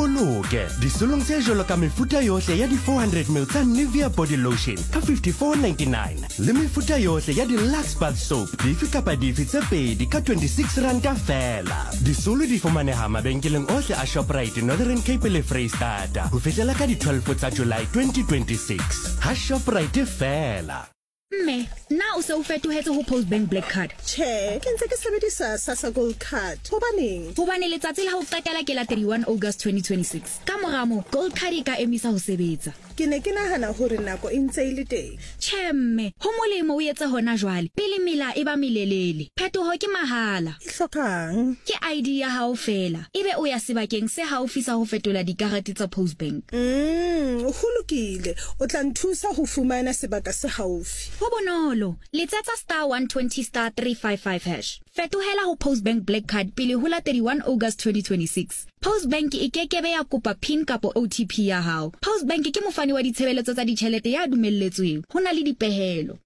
Ipoloke disolong tse jwalo ka mefuta yohle ya di 400 ml tsa Nivea body lotion ka 54.99 le mefuta yohle ya di Lux bath soap dife kapa dife tse pedi ka 26 ranta feela. Disolo di fumaneha mabenkeleng ohle a Shoprite Northern Cape le Freistata ho fihlela ka di 12 tsa July 2026. Ha Shoprite feela. Mme, na o se o fetohetse ho Postbank Black Card? Tjhe, ke ntse ke sebedisa Sassa Gold Card. Hobaneng? Hobane letsatsi la ho qetela ke la 31 August 2026. Ka mora moo, Gold Card e ka emisa ho sebetsa. Ke ne ke nahana hore nako e ntse e le teng. Tjhe mme, ho molemo o etse hona jwale, pele mela e ba melelele. Phetoho ke mahala. E hlokang? Ke ID ya hao feela, ebe o ya sebakeng se haufi sa ho fetola dikarete tsa Postbank. Umm, ho lokile. O tla nthusa ho fumana sebaka se haufi. Ho bonolo. Letsetsa star 120 star 355 hash. Fetohela ho Postbank Black Card pele ho la 31 August 2026. Postbank e ke ke be ya kopa pin kapa OTP ya hao. Postbank ke mofani wa ditshebeletso tsa ditjhelete ya dumelletsweng. Ho na le dipehelo.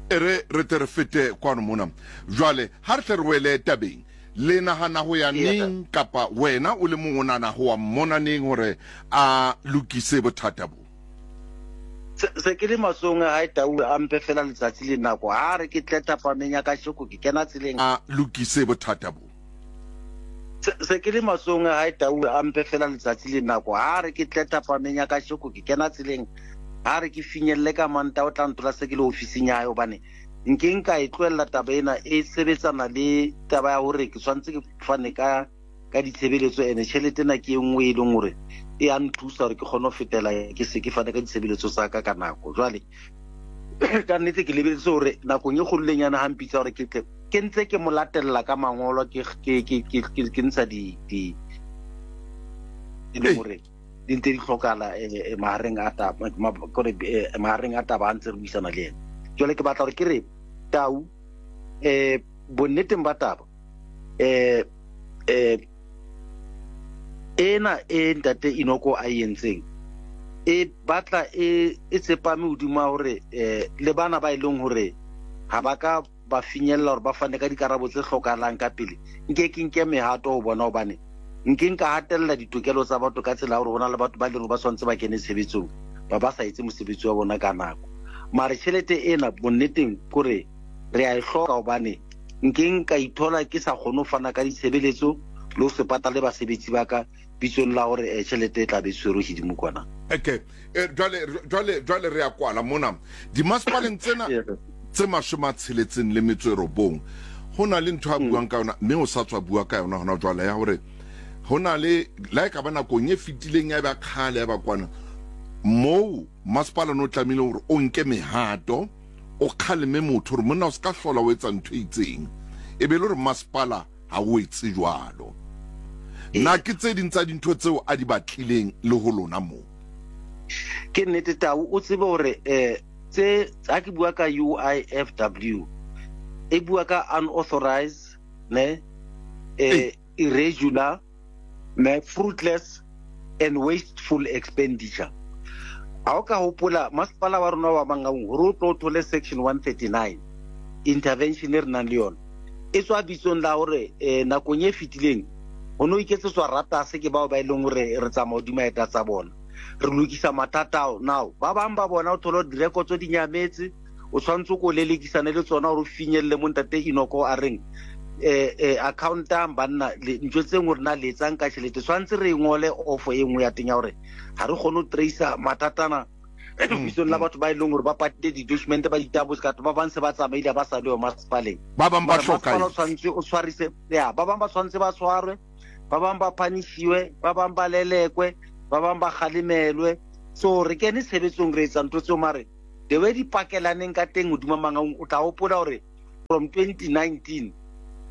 E re re tle re fete kwano mona. Jwale, ha re tle re wele tabeng. Le nahana ho ya neng, kapa wena o le mong o nahana ho wa mmona neng hore a lokise bothata bo? Se, se ke le matsong a hae Tau a mpe fela letsatsi le nako. Ha a re ke tle thapameng ya kasheko ke kena tseleng. A lokise bothata bo? Se, se ke le matsong a hae Tau a mpe fela letsatsi le nako. Ha a re ke tle thapameng ya kasheko ke kena tseleng. Ha a re ke finyelle ka Mantaha o tla ntola se ke le ofising ya hae hobane nke nka e tlohella taba ena e sebetsana le taba ya hore ke tshwanetse ke fane ka ka ditshebeletso ene tjhelete ena ke e nngwe e leng hore e a nthusa hore ke kgone ho fetela ke se ke fane ka ditshebeletso tsa ka ka nako. Jwale ka nnete ke lebeletse hore nakong e kgololenyana ha mpitsa hore ke tle ke ntse ke mo latella ka mangolo ke ke ke ke ke ntsha di di e leng hore di ntse di hlokala eh, eh, mahareng a taba kore eh, mahareng a taba a ntse re buisana le ena. Jwale ke batla hore ke re Tau eh bonneteng ba taba eh eh ena e ntate Inoko a e entseng e batla e e tsepame hodimo hore eh le bana ba e leng hore ha ba ka ba finyella hore ba fane ka dikarabo tse hlokahalang ka pele, nke ke nke mehato ho bona hobane nke nka hatella ditokelo tsa batho ka tsela ya hore ho na le batho ba leng hore ba tshwanetse ba kene tshebetsong ba ba sa etse mosebetsi wa bona ka nako. Mare tjhelete ena bonneteng kore re a e hloka hobane nke nka ithola ke sa kgone ho fana ka ditshebeletso le ho se patale basebetsi ba ka bitsong la hore eh, tjhelete e tla be e tshwerwe hodimo kwana. Okay. E, jwale jwale jwale re ya kwala mona dimasepaleng tsena tse 69 ho na le ntho a buang ka yona mme o sa tswa bua ka yona hona jwale ya hore ho na le la e ka ba nakong e fetileng ya ba kgale ya ba kwana moo masepala no tlamehile hore o nke mehato o kgaleme motho hore monna o se ka hlola o etsa ntho e itseng e be le hore masepala ha o etse jwalo. Na ke tse ding tsa dintho tseo a di batlileng le ho lona moo? Ke nnete Tau, o tsebe hore eh tse ha ke bua ka UIFW e bua ka unauthorized ne eh irregular ne fruitless and wasteful expenditure. Ha o ka hopola masepala wa rona wa Mangaung hore o tlo o thole section 139 intervention e re nang le yona e tswa bitsong la hore eh, nakong e fetileng ho no iketsetswa ratase ke bao ba e leng hore re tsamaya hodima eta tsa bona re lokisa mathata ao. Now ba bang ba bona o thole hore direkotso di nyametse, o tshwanetse ko lelekisane le tsona hore o finyelle mo ntate Inoko a reng eh eh accountang banna ntho tse nngwe rena le etsang ka tjhelete tshwanetse re e ngole ofo e nngwe ya teng ya hore ha re kgone ho tracer mathatana lebitsong la batho ba e leng hore ba patile di-document ba ditabotse ka ba bang se ba tsamaile ba sa le yo masepaleng. Ba bang ba Mara masepala o tshwanetse o tshwarise ya ba bang ba tshwanetse ba tshwarwe, ba bang ba phanishiwe, ba bang ba lelekwe, ba bang ba kgalemelwe. So re kene tshebetsong re etsa ntho tseo mare the way di pakelaneng ka teng hodima Mangaung o tla hopola hore from 2019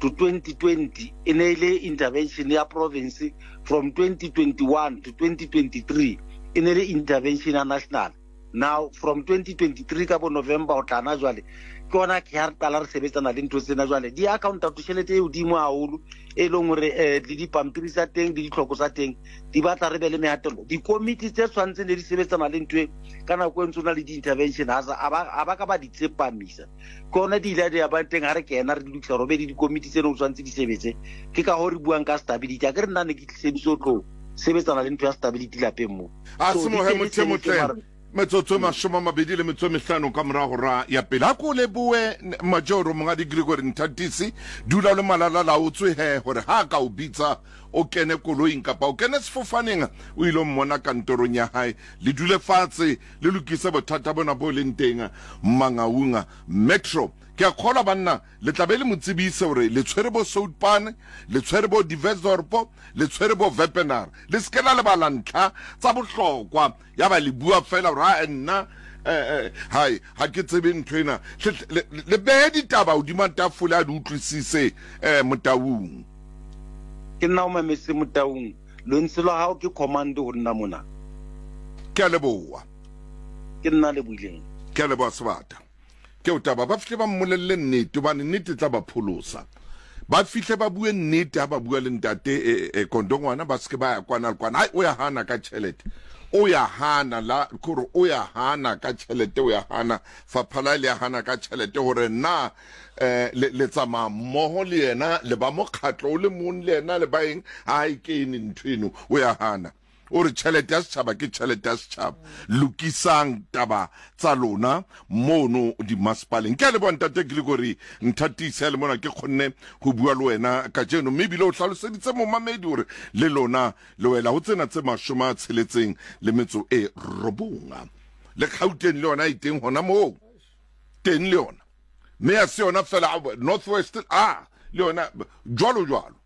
to 2020 e ne e le intervention ya province, from 2021 to 2023 e ne le intervention ya national. Now from 2023 ka bo November ho tla na jwale ke ona ke ha re qala re sebetsana le ntho tsena jwale di accounta to tjhelete e hodimo haholo e leng hore eh, le dipampiri tsa teng le ditlhoko tsa teng di batla re be le mehatello. Dikomiti tse tshwanetseng ne di sebetsana le ntho e ka nako e ntse o na le di-intervention ha ba ka ba di tsepamisa. Ke ona di ile di ba teng ha re kena re di lokisa hore be le dikomiti tse ne o tshwanetse di sebetse. Ke ka hoo re buang ka stability. A ke re nna ne ke tliseditswe ho tlo sebetsana le ntho ya stability lapeng mo. A So se di mohe teng motho e tse motle. mare Metsotso e 25 ka morago hora ya pele. A ko leboe Majoro Mongadi Gregory Nthatisi. Dula o le malalalaotswe he gore ha a ka o bitsa o kene koloing kapa o kene sefofaneng o ile mmona kantorong ya hae. Le dule fatshe le lokise bothata bona bo leng teng Mangaung Metro. Ke a kgolwa banna le tla be le mo tsebise gore le tshwere bo Soutpan, le tshwere bo Diversdorp, le tshwere bo Wepener. Le se ke la lebala ntlha tsa bohlokwa ya ba le bua fela gore a nna hai ga ke tsebe ntho ena. Le behe ditaba hodima tafole a di utlwisise Motaung. Ke nna o mametse Motaung, lentswe la hao ke command ho nna mona. Ke a leboha. Ke nna lebohileng. Ke a leboha Sebata. Ke o taba ba fihle ba mmolelle nnete hobane nnete e tla ba pholosa. Ba fihle ba bue nnete ha ba bua le ntate e, e, Kondongwana, ba seke ba ya kwana le kwana. Hai, o ya hana ka tjhelete. O ya hana la kore o ya hana ka tjhelete, o ya hana fapha la le ya hana ka tjhelete hore na eh le, le tsamaya mmoho le yena le ba mokgatlo o le mong le yena le ba eng ha e kene ntho eno o ya hana. O re tjhelete ya setjhaba ke tjhelete ya setjhaba. Lokisang taba tsa lona mono dimasepaleng. Ke a leboha Ntate Gregory Nthatisi ha le mona ke kgonne ho bua le wena kajeno, mme ebile o hlaloseditse momamedi hore le lona le wela ho tsena tse 69. Le Gauteng le yona e teng hona moo. Teng le yona. Mme ha se yona fela North West a le yona jwalo jwalo.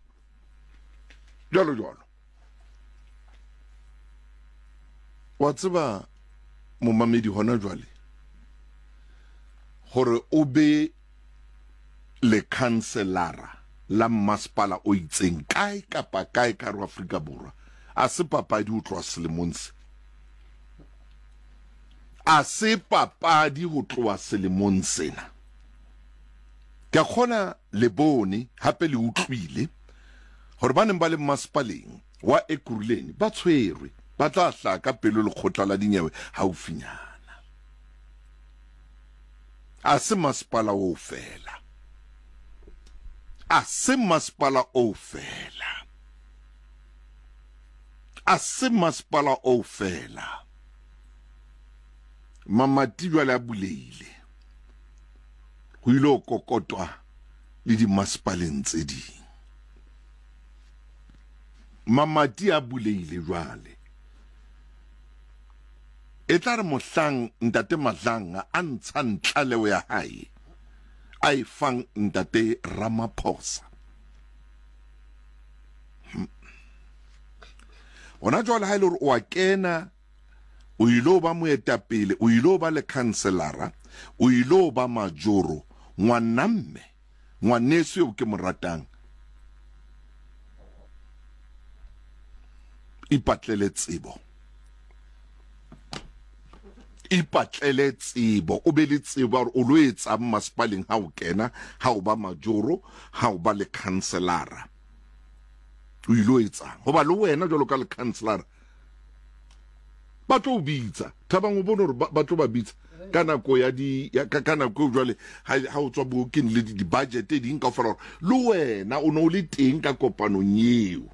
Jwalo jwalo. Wa tseba momamedi hona jwale gore o be lekhanselara la mmasepala o itseng kae kapa kae ka re Afrika Borwa a se papadi ho tloha selemong se a se papadi ho tloha selemong sena. Ke a kgona le bone hape le utlwile gore ba neng ba le mmasepaleng wa Ekurhuleni ba tshwerwe, ba tla hlaha ka pelo lekgotla la dinyewe haufinyana. A se masepala oo fela. A se masepala oo fela. A se masepala oo fela. Mamati jwale a buleile. Ho ile ho kokotwa le dimasepaleng tse ding. Mamati a buleile jwale. E tla re mohlang Ntate Madlanga a ntshang tlaleho ya hae a e fang Ntate Ramaphosa. Hona jwale ha e le hore o a kena o ile ba moetapele, o ile ba lekhanselara, o ile ba majoro, ngwanamme, ngwaneso eo ke mo ratang, ipatlele tsebo. Ipatlele tsebo, o be le tsebo hore o lo etsang masepaleng ha o kena, ha o ba majoro, ha o ba lekhanselara. O ile etsang? Hoba le wena jwalo ka lekhanselara ba tlo o bitsa. Thabang o bone hore ba tlo ba bitsa ka nako ya di ya, ka, ka nako eo jwale ha, ha o tswa booking le di budget ding kaofela hore le wena o ne o le teng ka kopanong eo.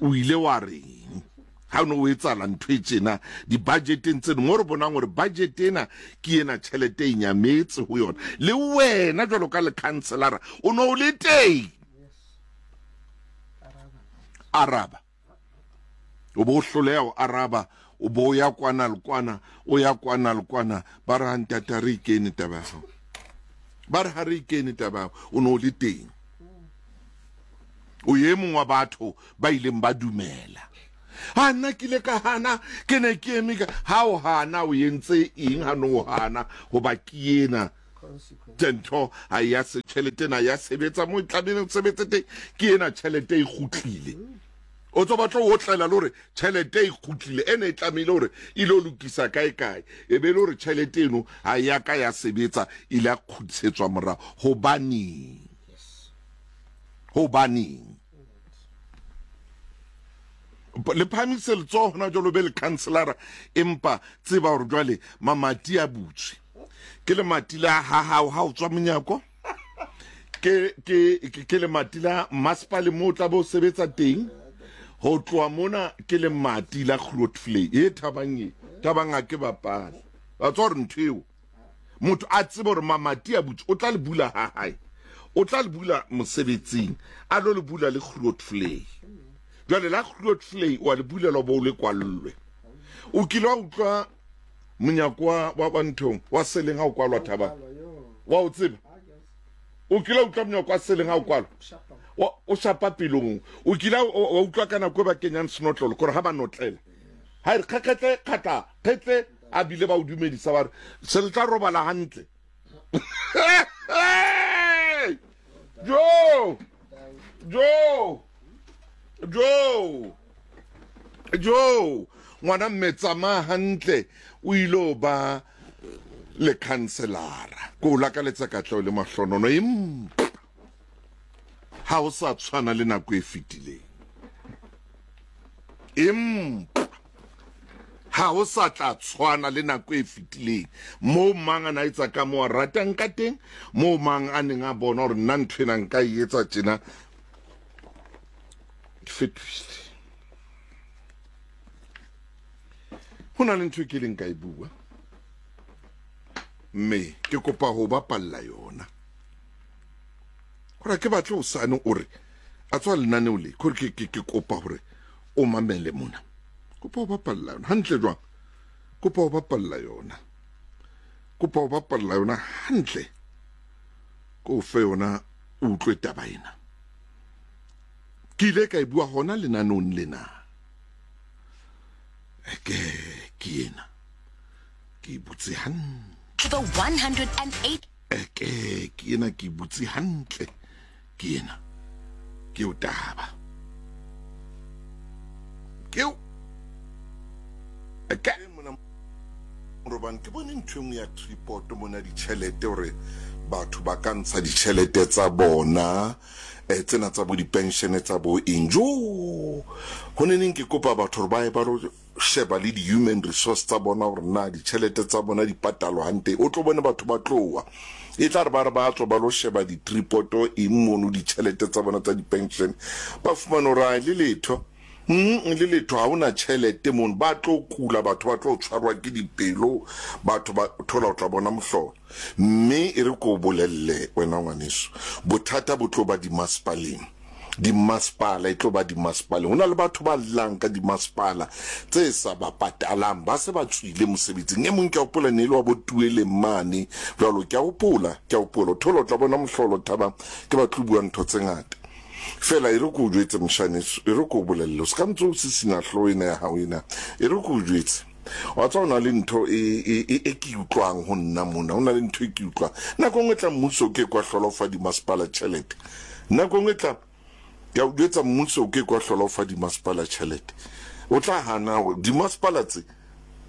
O ile wa reng ha o ne o etsala ntho e tjena di-budgeteng tseno, mo re bonang hore budget ena ke ena tjhelete e nyametse ho yona, le wena jwalo ka lekhanselara o ne o le teng. Araba. O bo hloleha ho araba, o bo ya kwana le kwana, o ya kwana le kwana, ba re ha ntate ha re ikene taba ya hao. Ba re ha re ikene taba ya hao, o ne o le teng. O ye mong wa batho ba ileng ba dumela. Ha nna ke ile ka hana, ke ne ke eme ka ha o hana o entse eng ha no hana hoba ke ena ntho ha ya se tjhelete ena ya sebetsa mo e tlamehileng ho sebetse teng, ke ena tjhelete e kgutlile. O tswa batla o otlela le hore tjhelete e kgutlile e ne e tlamehile hore e lo lokisa kae kae, e be le hore tjhelete eno ha ya ka ya sebetsa, ile ya kgutlisetswa morao. Hobaneng? Hobaneng? Le phahamise letsoho hona jwalo be le councilora, empa tseba hore jwale mamati a butswe. Ke lemati la ha hao ha o tswa monyako, ke ke ke lemati la masepale mo o tla bo sebetsa teng. Ho tloha mona ke lemati la Grootvlei. E Thabang e. Thabang ha ke bapale. Wa tseba hore ntho eo motho a tsebe hore mamati a butse o tla le bula ha hae. O tla le bula mosebetsing, a lo le bula le Grootvlei. Jwale la Grootvlei wa le bulelwa bo o le kwallwe. O kile wa utlwa monyako wa wa wa nthong wa seleng ha o kwalwa Thabang? Wa o tseba? O kile wa utlwa monyako wa seleng ha o kwalwa? Wa, o shapa pelong. O kile wa utlwa ka nako e ba kenyang senotlolo, kore ha ba notlela. Ha e re kgekgetle, kgatla, kgetle, a bile ba o dumedisa ba re, se le tla robala hantle. Jo! Jo! Jo! Jo! Ngwana mme tsamaya hantle o ile ba le khanselara. Ko o lakaletsa katleho le mahlonono empa ha o sa tshwana le nako e fetileng. Empa ha o sa tla tshwana le nako e fetileng moo mang a na etsa ka moo a ratang ka teng, moo mang a neng a bona hore nna ntho ena nka e etsa tjena. Ke fetohile. Ho na le ntho e ke leng ka e bua, mme ke kopa ho bapalla yona. Gore ke batle o sane o re a tswa lenaneo le gore ke ke ke kopa hore o mamele mona. Kopa ho bapalla yona hantle jwang? Kopa ho bapalla yona. Kopa ho bapalla yona hantle. Ko fe yona o utlwe taba ena. Ke ile ka e bua hona lenaneong lena. Ke ke ena. Ke e butse hantle. The 108 Eke ke ena ke butse hantle ke ena ke o taba ke o eke mona morobane ke bone ntho engwe ya tripod mona ditšhelete gore batho ba ka ntsha ditšhelete tsa bona eh, tsena tsa bo dipenšene tsa bo eng jo go ne neng ke kopa batho gore ba ye ba sheba le di-human resource tsa bona gore na ditšhelete tsa bona di patalwa hantle. O tlo bone batho ba tloa, e tla re ba re ba tswa ba lo sheba di-tripoto eng mono ditšhelete tsa bona tsa di-pension, ba fumane gore a le letho mm, le letho ga ona tšhelete mono. Ba tlo kula batho, ba tlo tshwarwa ke dipelo batho, ba thola o tla bona mohlolo. Mme e re ko bolelle wena ngwaneso, bothata bo tlo ba dimasepaleng. Dimasepala, e tlo ba dimasepaleng. Ho na le batho ba llang ka dimasepala tse sa ba patalang, ba se ba tswile mosebetsing. E mong ke a hopola ne e le wa bo Tueleng mane jwalo, ke a hopola, ke a hopola. O thola o tla bona mohlolo Thabang, ke batle ho bua ntho tse ngata. Feela e re ke o jwetse moshaneso, e re ke o bolelle, o se ka ntse o sisinya hlooho ena ya hao ena. E re ke o jwetse. Wa tseba ho na le ntho e, e, e, e ke utlwang ho nna mona, ho na le ntho e ke utlwang. Nako e nngwe tla mmuso o ke ke wa hlola o fa dimasepala tjhelete. Nako e nngwe tla, ke a o jwetsa, mmuso o ke ke wa hlola o fa dimasepala tjhelete. O tla hana hore dimasepala tse,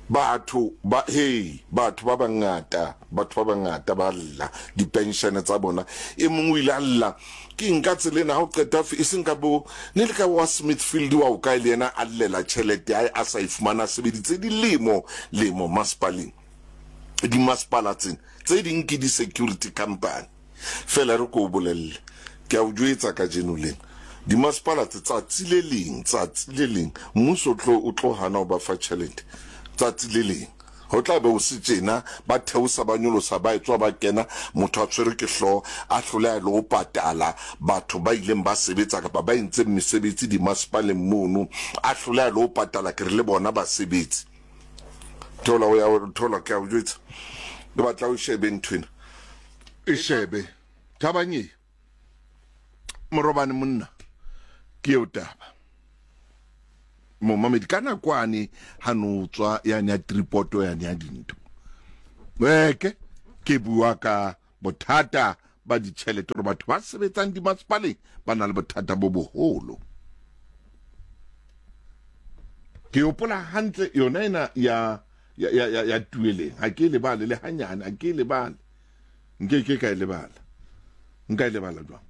batho ba, hei, batho ba bangata, batho ba bangata ba lla dipenshene tsa bona. E mong o ile a lla, ke eng ka tsela ena, ha o qeta e seng ka bo, ne le ka wa Smithfield wa o kae le yena a llela tjhelete ya hae a sa e fumana, a sebeditse dilemo, lemo masepaleng. Dimasepala tsena tse ding ke di-security company. Fela re ko o bolelle, ke a o jwetsa kajeno lena, dimasepala tse tsatsi le leng, tsatsi le leng, mmuso o tlo, o tlo hana ho ba fa tjhelete, tsatsi le leng. Ho tla be ho se tjena, ba theosa, ba nyolosa, ba etswa, ba kena, motho a tshwerwe ke hlooho, a hloleha le ho patala batho ba ileng ba sebetsa kapa ba entseng mesebetsi dimasepaleng mono, a hloleha le ho patala, ke re le bona basebetsi. Thola, o ya, thola, ke a o jwetsa. Ke batla o shebe nthwena. E shebe. Thabang e. Morobane monna. Ke eo taba. Momamedi ka nakwane ha no tswa yane ya tripoto yane ya dintho. Weke ke bua ka bothata ba ditjhelete hore batho ba sebetsang dimasepaleng ba na le bothata bo boholo. Ke hopola hantle yona ena ya ya ya ya tueleng ha ke lebale le hanyane ha ke lebale nke ke ka e lebala nka e lebala jwang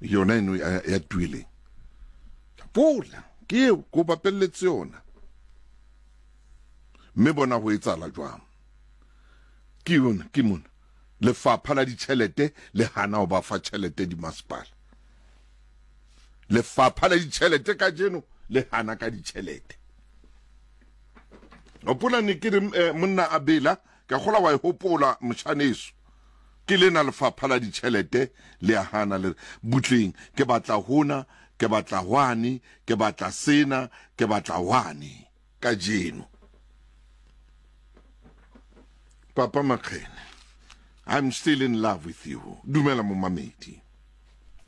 yona eno ya, ya tueleng pola ke eo ko bapelletse yona mme bona ho etsahala jwang ke yona ke mona lefapha la ditjhelete le hana ho ba fa tjhelete dimasepala lefapha la ditjhelete kajeno. Le hana ka ditšhelete. Hopola ne ke re eh, monna a bela, ke gola wa e hopola moshaneso. Ke lena lefapha la ditšhelete le a hana le re butleng ke batla hona, ke batla hwane, ke batla sena, ke batla hwane kajeno. Papa Makgene, I'm still in love with you. Dumela momamedi.